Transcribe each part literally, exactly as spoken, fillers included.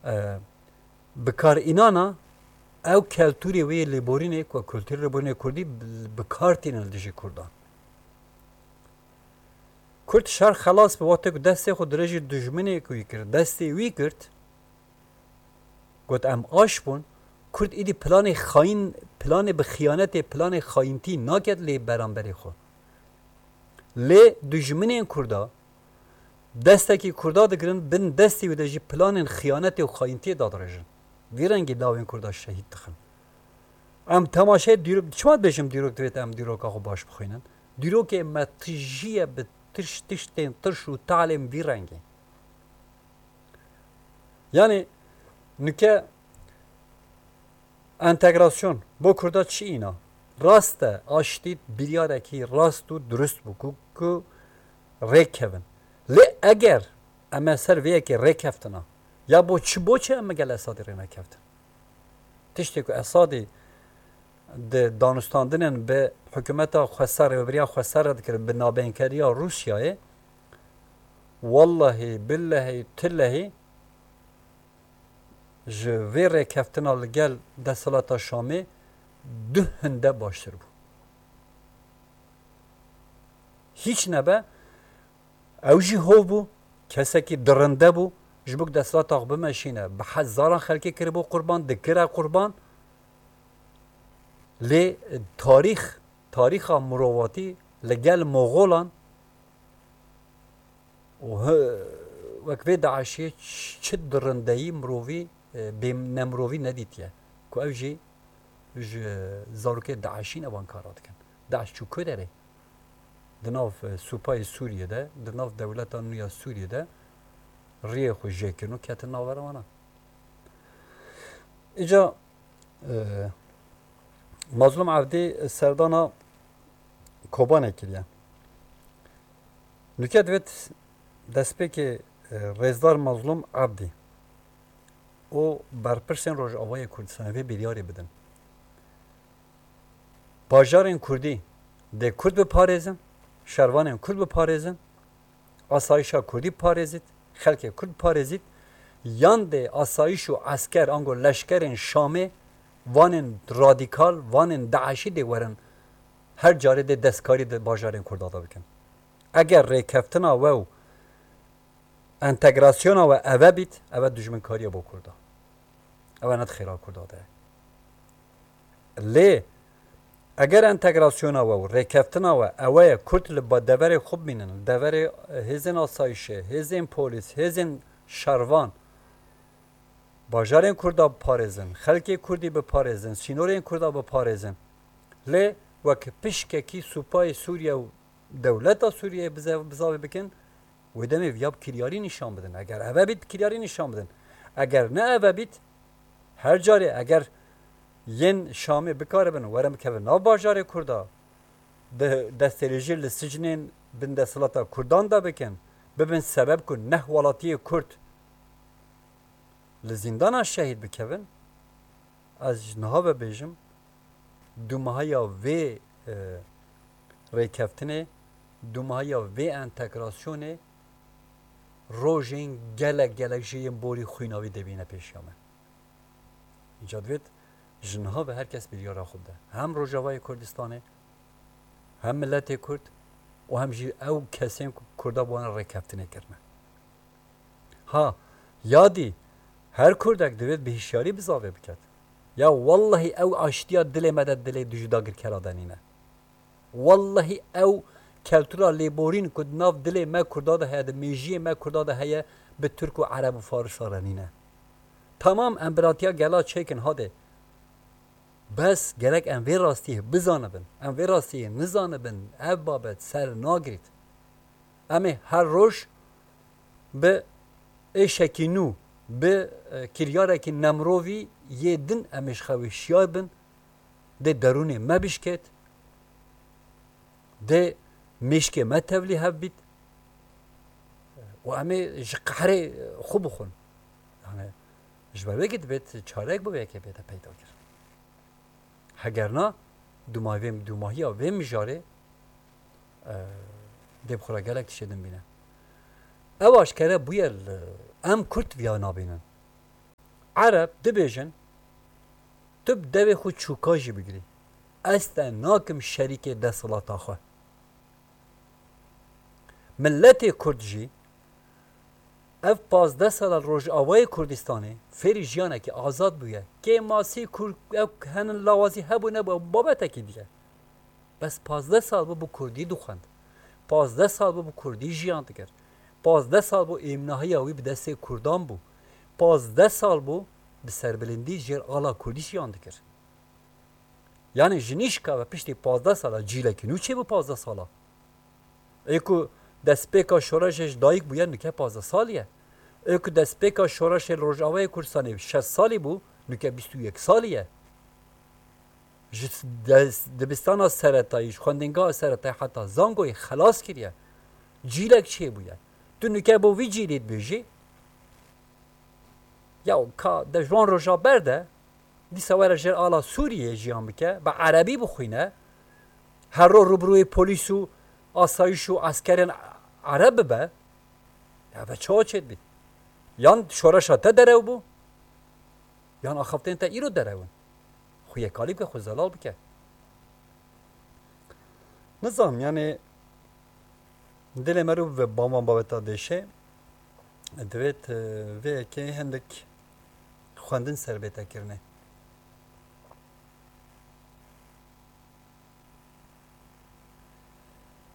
E, bi kar înana ew keltûrê wê yê lêborînê ku kulturê lêborînê kurdî bi, bi kar tînin li dijî kurdan. Kurd şer xelas bi wextê ku destê xwe dirêjî dijminê ku wî kir, destê wî girt, got, "Em aş bûn." Kurd îdî planê xayîn, planê bi xiyanetê, planê xayîntî naket lê beramberê xwe. Lê dijminên Kurda destekî Kurda digirin, bin destê wî de jî planên xiyanetê û xayîntiyê dadirêjin. Vî rengî lawên Kurda şehîd dixin. Em temaşeyê dîrok, çima dibêjim dîrok divêt em dîroka xwe baş bixwînin? Dîrokê me tijî ye bi tiş-, tiştên tirş û talên vî rengî. Yani nike entegrasyon bo Kurda çi îna? Rast e, aştî biryarekî rast û durust bû ku, ku rêk kevin. Lê eger em ê ser vê yekê rêkeftina, ya bo çi, bo çi em gel Esadî rê nekeftin? Tiştê ku Esadî di danûstandinên bi hikûmeta xweser, rêveberiya xweser re dikir, bi nabênkeriya Rûsyayê, wallahî, billehî, tillehî ji vê rêkeftina li gel desthilata Şamê du hinde baştir bû. Hîç nebe, ew jî hov bû, kesekî dirinde bû, ji bo ku desthilata xwe bimeşîne, bi hezaran xelkê kiribû qurban, dikire qurban. Lê tarîx, tarîxa mirovatî li gel Moxolan û hi-, wek vê DAIŞê ç-, çi dirindeyî mirovî, e, bê nemirovî nedîtiye. Ku ew jî ji zarokê DAIŞî ne van kara dikin. DAIŞ çû ku derê? Di nav, e, supayê Sûriyê de, di nav dewleta nû ya Sûriyê de riyê xwe jêkirin û ketin navbera wana. Îca, e, Mazlûm Evdî serdana Kobanê kiriye. Nûke divêt destpêkê, e, Rêzdar Mazlûm Evdî û berpirsên Rojavayê Kurdistanê vê biryarê bidin. Bajarên Kurdî dê Kurd biparêzin, şervanên Kurd biparêzin, asayişa Kurdî biparêzît, xelkê Kurd biparêzît, yan dê asayiş û esker ango leşkerên Şamê, vanên radîkal, vanên DAIŞî dê werin her carê dê destkarî di bajarên Kurda de bikin. Eger rêkeftina we û entegrasyona we eve bît, eve dijminkariye bo Kurda. Eve ne di xêra Kurda de ye. Lê eger entegrasyona we û rêkeftina we ewe ye Kurd li ba-, deverê xwe bimînin, li deverê hêzên asayişê, hêzên polîs, hêzên şervan, bajarên Kurda biparêzin, xelkê Kurdî biparêzin, sînorên Kurda biparêzin, lê wek pişkekî supayê Sûriye û dewleta Sûriyeyê bize-, bizavê bikin, wê demê viya bi kiryarî nîşan bidin. Eger eve bît, bi kiryarî nîşan bidin. Eger ne eve bît, her carê eger yên Şamê bikaribin, werin bikevin nav bajarê Kurda, de-, destêrêjî li sicnên bin desthilata Kurdan de bikin, bibin sebeb ku neh welatiyê Kurd li zîndana şehîd bikevin, ez ji niha ve bêjim, dûmahiya vê, e, rêkeftinê, dûmahiya vê entegrasyonê rojên gelek gelek jê yên borî xwînavî dê bîne pêşiya me. Îca divêt ji niha ve her kes biryara xwe bide. Hem Rojavayê Kurdistanê, hem miletê Kurd û hem jî ew kesên ku Kurda bi wan re rêkeftinê kirine. Ha, ya dî her Kurdek divêt bi hişyarî bizavê biket. Ya wellehî ew aştiya dilê me de dilê dijî dagirkera de nîne. Wellehî ew keltura lêborîn ku di nav dilê me Kurda de heye, di mêjiyê me Kurda de heye, bi Tirk û Ereb û Farisa re nîne. Tamam, em biratiya gela çêkin hadê. Bes gerek em vê rastiyê bizanibin. Em vê rastiyê nizanibin, ev babet ser nagirît. Em ê her roj bi êşekî nû, bi, e, kiryarekî nemirovî yê din em ê ji xwe wê şiyar bin, dê derûnê me bişkêt, dê mêşkê me tevlî hev bît û em ê ji qehrê xwe bixwin. Yani, ji ber wê kê dibêt çarek bi wê yekê bête peyda kirin. Heger na, dûmahî vê, dûmahiya vê mijarê, e, dê bi xwe re gelek tiştê din bîne. Ew aşkere bûye li, em Kurd viya nabînin. Ereb dibêjin, tu bi devê xwe çûka jî bigirî. Ez te nakim şerîkê desthilata xwe. Miletê Kurd jî ev pazdeh sala li Rojavayê Kurdistanê fêrî jiyanekî azad bûye. Kêmasî Kurd, ew henin lawazî hebû nebû, ew babetekî dî ye. Bes pazdeh sal bû bi Kurdî dixwend. Pazdeh sal bû bi Kurdî jiyan dikir. Pazdeh sal bû êmnahiya wî bi destê Kurdan bû. Pazdeh sal bû bi serbilindî jêr ala Kurdî jiyan dikir. Yanî ji nîşka ve piştî pazdeh sala cîlekî nû çêbû pazdeh sala. Ê ku destpêka şoreşê ji dayik bûye, nûke pazdeh salî ye. Ê ku destpêka şoreşê li Rojavayê Kurdistanê şeş salî bû, nûke bîst û yek salî ye. Ji des-, dibistana seretayî, ji xwendingeha seretayî heta zangoyê xelas kiriye. Cîlek çêbûye. Tu nûke bo vî cîlê dibêjî, ya ka de ji wan roja berde, dîsa were jêr ala Sûriyê jiyan bike, bi erebî bixwîne, her ro rûbirûyê polîs û asayîş û eskerên ereb bibe, ya ve çawa çêdibît? Yan şoreşa te derew bû, yan axaftên te îro derew in. Xwe yekalî bike, xwe zelal bike. Nizam, yani dilê me rû ve ban van babeta dêşe, divêt, e, vê yekê hindek xwendin ser bête kirine.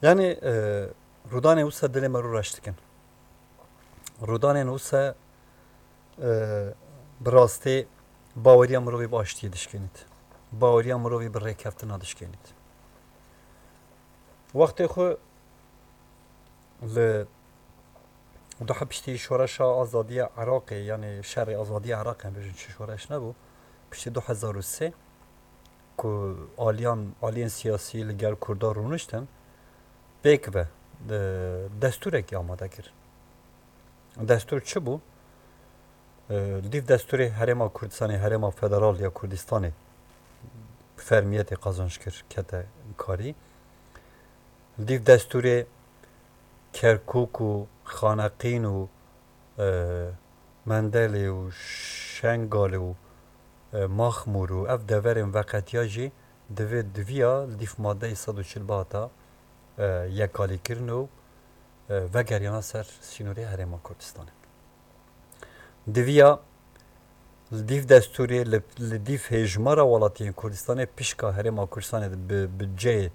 Yani, e, rûdanê wisa dilê me rû reş dikin. Rûdanên wisa, e, bi rastî baweriya mirovî bi aştiyê dişkênît. Baweriya mirovî bi rêkeftina dişkênît. Wextê xwe li duha piştî şoreşa azadiya Iraqê, yani şerê azadiya Iraqê, em bêjin çi şoreş nebû, piştî du hezar û sê ku aliyan, aliyên siyasî li gel Kurda rûniştin, pêk ve, e, destûrekî amade kir. Destûr çi bû? E, li dîv destûrê Herêma Kurdistanê, Herêma Federal ya Kurdistanê fermiyetê qazanç kir, kete karî. Li dîv destûrê Kerkûk û Xaneqîn û, e, Mendelê û Şengalê û, e, Maxmûr û ev deverên veqetiya jî divê diviya li dîv madeyê sed û çil bata, e, yekalîkirin û, e, vegeriyana ser sînorê Herêma Kurdistanê. Diviya li dîv destûrê, li, li dîv hêjmara welatiyên Kurdistanê pişka Herêma Kurdistanê de bi budceyê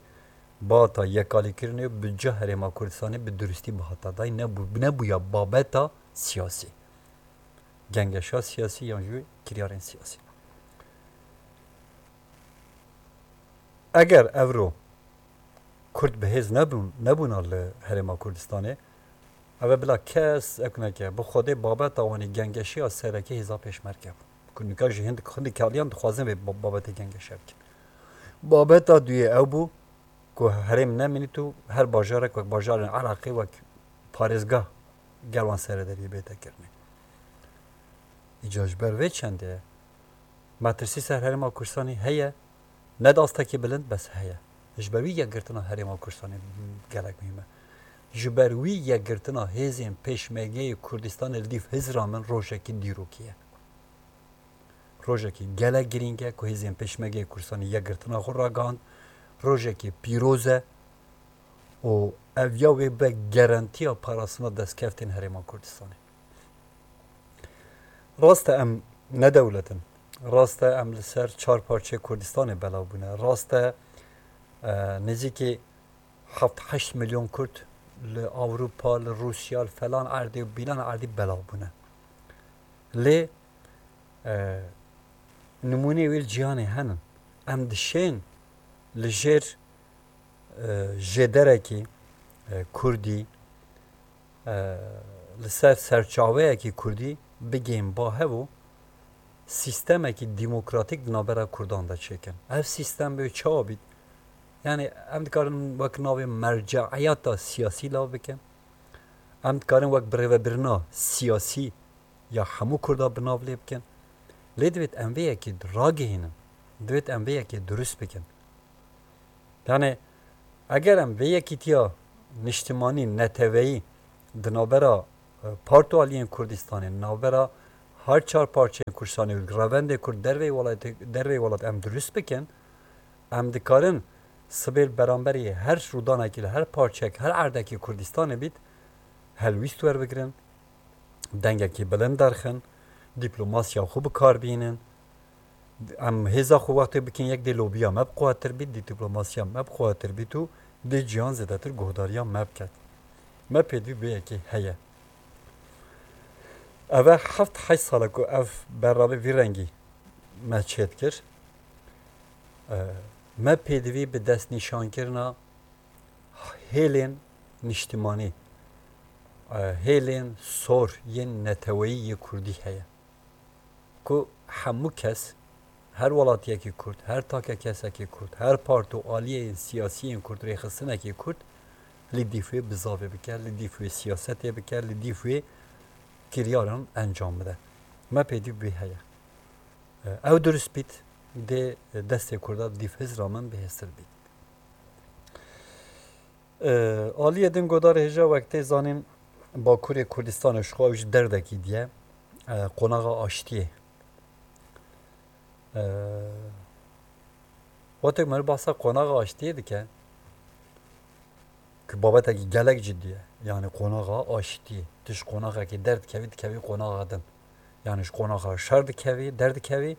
bihata yekalîkirinê û budca Herêma Kurdistanê bi durustî bihata dayî, nebû-, nebûya babeta siyasî. Gengeşa siyasî yan jî kiryarên siyasî. Eger evro Kurd bi hêz nebûn, nebûna li Herêma Kurdistanê, ev ê bila kes ek neke. Bi Xwedê babeta wan ê gengeşiya sereke hêza pêşmerge bû. Ku nika jî hindik, hindik aliyan dixwazin vê ba-, babetê gengeşe bikin. Babeta duyê ew bû ku herêm nemînît û her bajarek wek bajarên Iraqê wek parêzgah gel wan serederiyê bête kirinê. Îca ji ber vê çendê ye. Metirsî ser Herêma Kurdistanê heye, ne di astekî bilind, bes heye. Ji ber wî yekgirtina Herêma Kurdistanê gelek muhîm e. Ji ber wî yekgirtina hêzên Pêşmergeyê Kurdistanê li dîv Hizra min rojekî dîrokî ye. Rojekî gelek girîng e ku hêzên Pêşmergeyê Kurdistanê yekgirtina xwe ragihand. Rojekî pîroz e û ev ya wê be garantiya parastina destkeftên Herêma Kurdistanê. Rast e, em ne dewlet in. Rast e, em li ser çar parçeyê Kurdistanê belav bûne. Rast e, e, nêzîkî heft heşt milyon Kurd li Ewropa, li Rûsya, li falan erdê û bîlan erdî belav bûne. Lê, e, nimûneyê wê li cîhanê henin. Em dişên li jêr, e, jêderekî, e, Kurdî, e, li ser serçaveyekî Kurdî bigihên ba hev û sîstemekî demokratîk di navbera Kurdan de çêkin. Ev sîstem bê çawa bît? Yani em dikarin wek navê merceiyata siyasî lav bikin. Em dikarin wek birêvebirina siyasî ya hemû Kurda bi nav lê bikin. Lê divêt em vê yekê ragihînin. Divêt em vê yekê durust bikin. Yani eger em vê yekîtiya niştimanî, neteweyî di navbera, e, part û aliyên Kurdistanê, navbera her çar parçeyên Kurdistanê û revendê Kurd derveyî welatê, derveyî welat em dirust bikin, em dikarin sibê li beramberî her rûdanekî li her parçeyek, her erdekî Kurdistanê bît, helwîst werbigirin, dengekî bilind derxin, dîplomasiya xwe bi kar bînin. Em hêza xwe wextê bikin yek dê lobiya me bi quwetir bît, dê diplomasiya me bi quwetir bît û dê cihan zêdetir guhdariya me biket. Me pêdivî bi yekê heye. Eve heft heşt sal e ku ev bername vî rengî me çêdikir. E, me pêdivî bi destnîşankirina hêlên niştimanî, e, hêlên sor yên neteweyî yê Kurdî heye. Ku hemû kes, her welatiyekî Kurd, her take kesekî Kurd, her part û aliyên siyasî yên Kurd, rêxistinekî Kurd li dîf wê bizavê bike, li dîf wê siyasetê bike, li dîf wê kiryaran encam bide. Me pêdî bê heye. Ew dirust bît, dê destê Kurda dîf hizra min bihêstir bît. E, aliyê din godarê hêja wek tê zanîn Bakurê Kurdistanê ji xwe ew ji derdekî diye, e, qonaxa aştiyê. E, wextek meriv bahsa qonaxa aştiyê dike, ku babetekî gelek cidî ye. Yani qonaxa aştiyê. Tu ji qonaxekî derdikevî, dikevî qonaxa din. Yani ji qonaxa şer dikevî, derdikevî,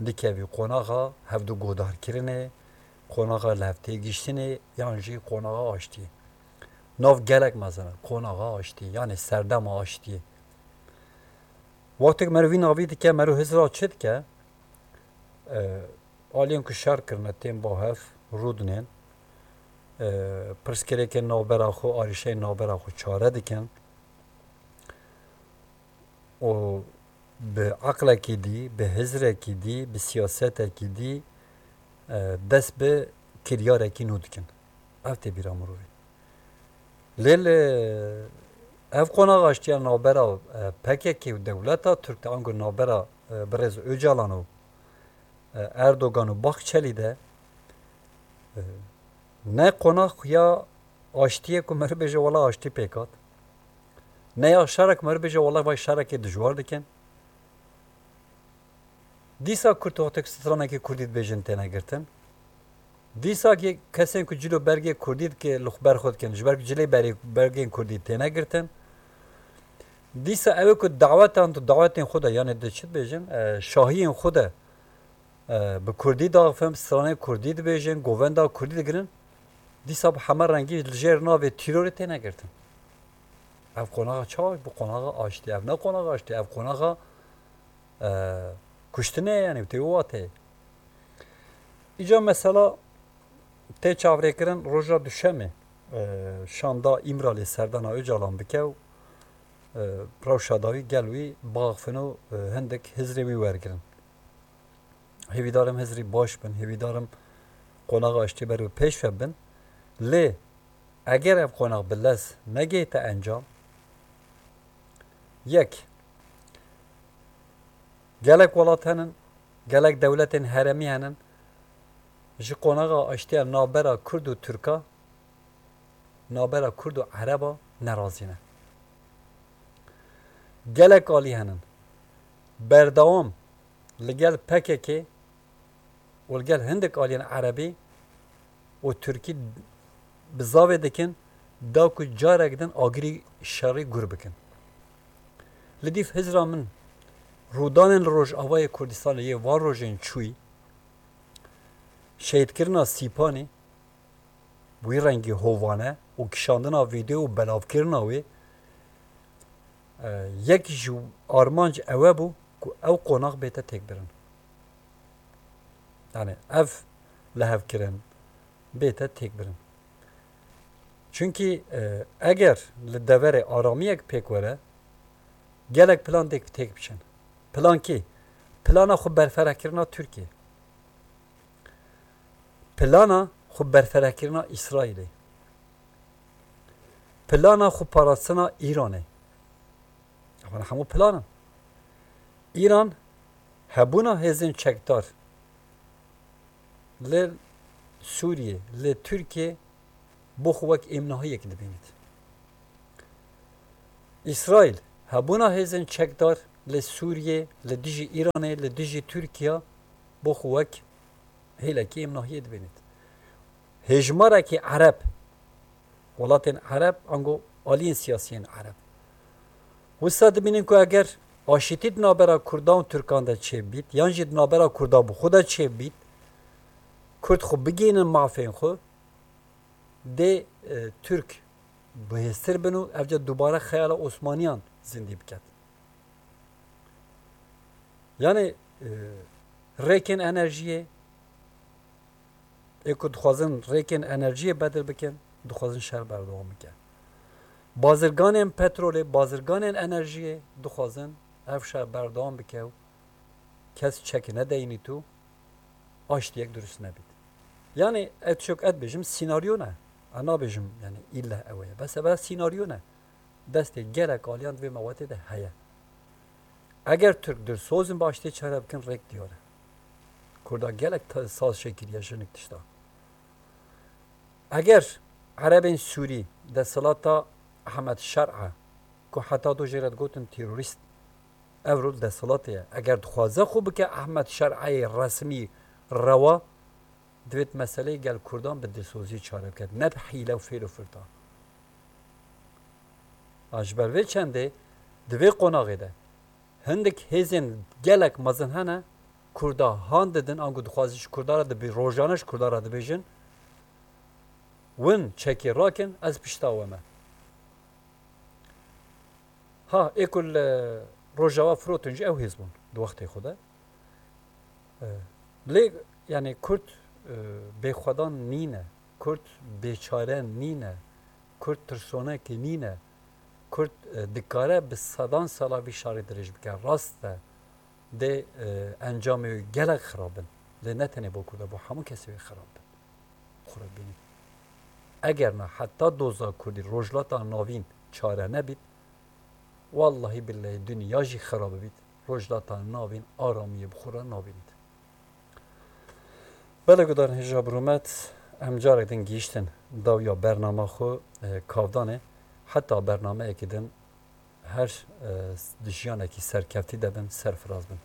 dikevî qonaxa hevdu guhdarkirinê, qonaxa li hev têgihiştinê, yan jî qonaxa aştiyê. Nav gelek mezin e, qonaxa aştiyê, yani serdema aştiyê. Wextek meriv vî navî dike, meriv hizra çi dike? E, aliyên ku şer kirine tên ba hev, rûdinên, e, pirsgirêkên navbera xwe, arîşeyên navbera xwe çare dikin. û bi eqlekî dî, bi hizrekî dî, bi siyasetekî dî, e, dest bi kiryarekî nû dikin. Ev tê bîra mirovî. Lê li ev qonaxa aştiya navbera, e, P K K û dewleta Tirk de, ango navbera, e, birêz Ocalan û, e, Erdogan û Bahçelî de, e, ne qonax ya aştiyê ku meriv bêje wela aştî pêk hat. Ne ya şerek meriv bêje wela vay şerekê dijwar dikin. Dîsa Kurd wextek stranekî Kurdî dibêjin têne girtin. Dîsa ki kesên ku cilo bergê Kurdî dike li xwe ber xwe dikin. Ji ber ku cilê berê, bergên Kurdî têne girtin. Dîsa ew ê ku dawetan tu dawetên xwe de, yani di çi dibêjin, e, şahiyên xwe de e, bi kurdî daxivin, stranê kurdî dibêjin, govenda kurdî digirin, dîsa bi heme rengî li jêr navê tîrorê têne girtin. Ev qonaxa çawa? Bu qonaxa aştî. Ev ne qonaxa aştî, ev qonaxa, e, kuştinê ye, yani tê wê wateyê. Îca mesela tê çavrêkirin roja duşemê, e, şanda Îmralê serdana Ocalan bike û, e, rewşa dawî gel wî baxifin û, e, hindik hizrê wî wergirin. Hêvîdarim hizrî baş bin, hêvîdarim qonaxa aştî ber bi pêş ve bin. Lê eger ev qonax bi lez negihîte encam, yek, gelek welat henin, gelek dewletên heremî henin, ji qonaxa aştiya navbera Kurd û Tirka, navbera Kurd û Ereba nerazî ne. Gelek alî henin. Berdewam li gel P K K û li gel hindik aliyên Erebî û Tirkî bizavê dikin, da ku carek din agirî şerî gur bikin. Li dîf hizra min rûdanên li Rojavayê Kurdistanê yê van rojên çûyî, şehîdkirina Sîpanî, wî rengî hovane û kişandina vîdeo û belavkirina wê, e, yek ji armanc ewe bû ku ew qonax bête têkbirin. Yani ev lihevkirin bête têkbirin. Çunkî, e, eger li deverê aramiyek pêk were, gelek plan têk, têk biçin. Plan kî? Plana xwe berferekirina Tirkiye. Plana xwe berferekirina Îsraîlê. Plana xwe parastina Îranê. Ewana hemû plan in. Îran hebûna hêzên çekdar li Sûriyê, li Tirkiye bo xwe wek êmnahiyek dibînit. Îsraîl hebûna hêzên çekdar li Sûriyê, li dijî Îranê, li dijî Tirkiye bo xwe wek hêlekî em nahiyê dibînît. Hêjmarekî Ereb, welatên Ereb, ango aliyên siyasiyên Ereb. Wisa dibînin ku eger aşîtî di navbera Kurdan û Tirkan de çêbît, yan jî di navbera Kurda bi xwe de çêbît, Kurd xwe bigihînin mafên xwe, dê, e, Tirk bihêztir bin û evca dubare xeyala Osmaniyan zindî biket. Yani, e, rêkên enerjiyê, ê ku dixwazin rêkên enerjiyê bedil bikin, dixwazin şer berdewam bike. Bazirganên petrolê, bazirganên enerjiyê dixwazin ev şer berdewam bike û kes çek nedeyînît û aştiyek durust nebît. Yani, ez çok et bêjim, senaryo ne. Ez nabêjim, yani, îlle ew e. Bes ev senaryo ne. Destê gelek aliyan di vê mewetê de heye. Eger Tirk dilsoz in bi aştiyê çare bikin, rêk diyar e. Kurda gelek te-, saz çêkiriye jinik tişta. Eger Erebên Sûrî desthilata Ehmed Şer'a, ku heta do jê re digotin terorîst, ev rol desthilatê ye. Eger dixwaze xwe bike Ehmed Şer'ayê resmî rewa, divêt meseleyê gel Kurdan bi dilsozî çare biket, ne bi hîle û fêl û firta. A ji ber vê çendê di vê qonaxê de hindik hêzên gelek mezin hene, Kurda han didin, anku dixwazin ji Kurda re dibê-, rojane ji Kurda re dibêjin, win çekê rakin, ez pişta we me. Ha, ê ku li Rojava firotin jî ew hêz bûn di wextê xwe de. E, lê, yani, Kurd, e, bêxwedan nîne, Kurd bêçare nîne, Kurd tirsonekê nîne, Kurd, e, dikare bi sedan sala vî şarê dirêj bike. Rast e, dê, e, encamê wê gelek xirab bin. Lê ne tenê bo Kurda, bo hemû kesê wê xirab bin. Xwe re bînî. Eger na heta doza Kurdî Rojhilata Navîn çare nebît, wallahî billehî dinya jî xira bibît, Rojhilata Navîn aramiyê bi xwe re nabînît. Belê gudarên hêja bi rûmet, em carek din gihîştin dawiya bernama xwe, e, kavdanê. Heta bernameyekî din her, e, di jiyanekî serkeftî de bin, serfiraz bin.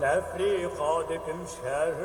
Lefrîqa dikim şer